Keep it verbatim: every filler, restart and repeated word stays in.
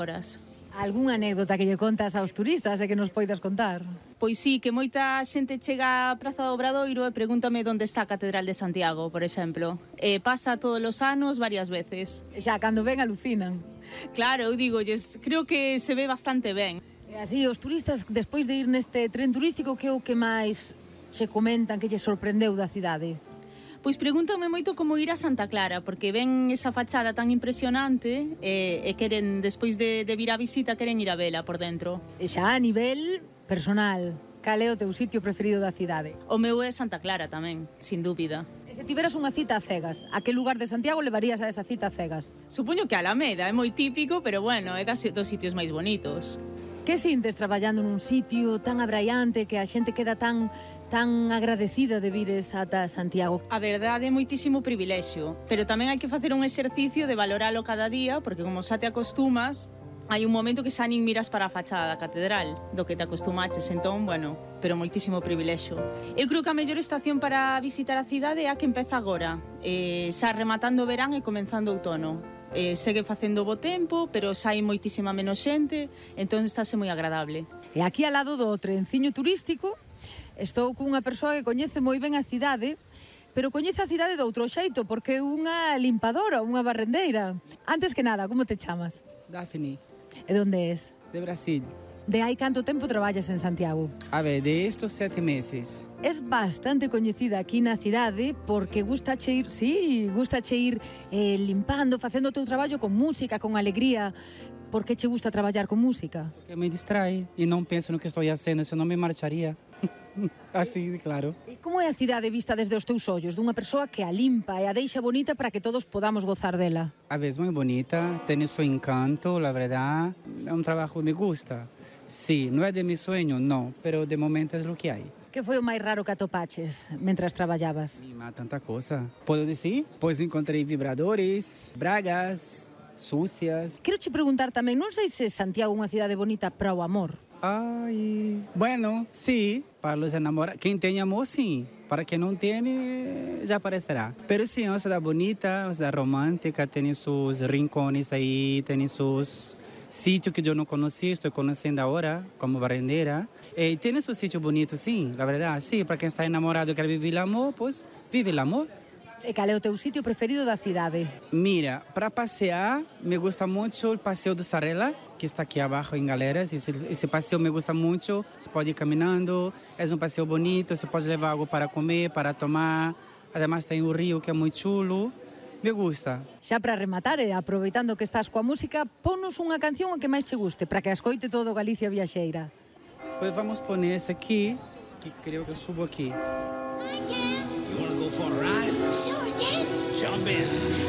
horas. Algúnha anécdota que lle contas aos turistas e que nos poidas contar? Pois sí, que moita xente chega á Praza do Obradoiro e pregúntame onde está a Catedral de Santiago, por exemplo. E pasa todos os anos varias veces. E xa, cando ven, alucinan. Claro, eu digolles, creo que se ve bastante ben. E así, os turistas, despois de ir neste tren turístico, que é o que máis che comentan que lle sorprendeu da cidade? Pois pregúntame moito como ir a Santa Clara, porque ven esa fachada tan impresionante e, e queren, despois de, de vir a visita, queren ir a vela por dentro. E xa a nivel personal, cal é o teu sitio preferido da cidade? O meu é Santa Clara tamén, sin dúbida. E se tiveras unha cita a cegas, a que lugar de Santiago levarías a esa cita a cegas? Supoño que a Alameda é moi típico, pero bueno, é das, dos sitios máis bonitos. Que sintes traballando nun sitio tan abraiante que a xente queda tan tan agradecida de vires ata Santiago? A verdade é moitísimo privilexio, pero tamén hai que facer un exercicio de valoralo cada día, porque como xa te acostumas, hai un momento que xa nin miras para a fachada da catedral, do que te acostumaches, entón, bueno, pero moitísimo privilexio. Eu creo que a mellor estación para visitar a cidade é a que empeza agora, eh, xa rematando o verán e comenzando o outono. Eh, segue facendo bo tempo, pero xa hai moitísima menos xente, entón estáse moi agradable. E aquí ao lado do trenciño turístico estou cunha persoa que coñece moi ben a cidade, pero coñece a cidade de outro xeito, porque é unha limpadora, unha barrendeira. Antes que nada, como te chamas? Daphne, E onde es? de Brasil. De hai canto tempo traballas en Santiago? A ver, de estos sete meses. Es bastante coñecida aquí na cidade porque gusta che ir, sí, gusta che ir eh, limpando, facendo o teu traballo con música, con alegría. Por que che gusta traballar con música? Porque me distrai e non penso no que estou facendo, senón me marcharía. Así, claro. E como é a cidade vista desde os teus ollos, dunha persoa que a limpa e a deixa bonita para que todos podamos gozar dela? A vez moi bonita, ten su encanto, la verdad. É un trabajo que me gusta. Sí, non é de mi sueño, no, pero de momento é lo que hai. Que foi o máis raro que atopaches mentras traballabas? E má tanta cosa. Podo decir? Pois encontrei vibradores, bragas, sucias. Quero che preguntar tamén, non sei se Santiago é unha cidade bonita para o amor. Ai, bueno, sí, para los enamorados. Quem tem amor, sim. Para quem não tem, já aparecerá. Pero sim, é uma cidade bonita, uma cidade romântica, tem seus rincones aí, tem seus sitios que eu não conhecia, estou conhecendo agora, como barrendeira. E tem seu sítio bonito, sim, na verdade, sim. Para quem está enamorado e quer viver o amor, pois vive o amor. E cal é o teu sitio preferido da cidade? Mira, para passear, me gusta muito o Passeio do Sarela, que está aqui abaixo em Galeras. Esse, esse passeio me gusta muito. Você pode ir caminhando, é um passeio bonito, você pode levar algo para comer, para tomar. Además tem o rio, que é muito chulo. Me gusta. Xa para rematar, e aproveitando que estás coa música, ponos unha canción a que máis che guste, para que a escoite todo Galicia viaxeira. Pois vamos poner esse aqui, que creio que eu subo aqui. You wanna go for a ride? Sure can. Jump in.